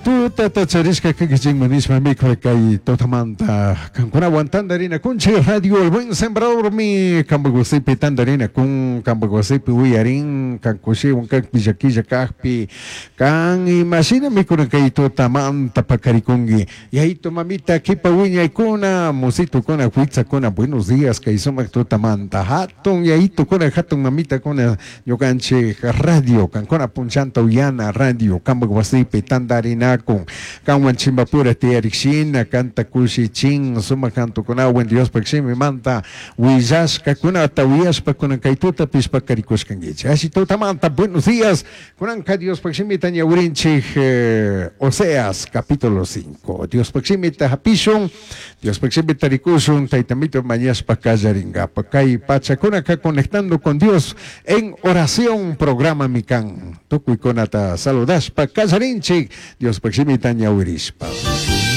Tutata charishka kankichikman nishpa mikhuy kay tutamanta kankunawan tantarinakunchik Radio El Buen Sembradormi kampak wasipi tantarinakun kampak wasipi uyarin kan kushiwan kakpi llakilla kakpi kan imashina mikuna kay tutamanta pakarikunki Yayitu mamita kipa wiñaykuna musitukuna huitzakuna buenos días kay sumak tutamanta hatun yayitukuna hatun mamitakuna Ñucanchij radio, cancuna punllanta uyana radio, cambaj huasipi tandarinacun, canhuan chimbapura tiyarij shina, canta cushichin, sumaj cantocunahuan Diospaj Shimimanta huillashcacunata uyashpa cunan cai tutapish pacaricushcanguichij. Alli tutamanta, buenos días. Cunanca Diospaj Shimita ñahuirinchij Oseas capítulo 5. Diospaj Shimita japishun. Diospaj shimita ricushun, Taitamito mañashpa callaringapa. Cai pachacunaca Conectando con Dios en Oración programami can. Tucuicunata saludashpa callarinchij, Diospaj shimita ñahuirishpa.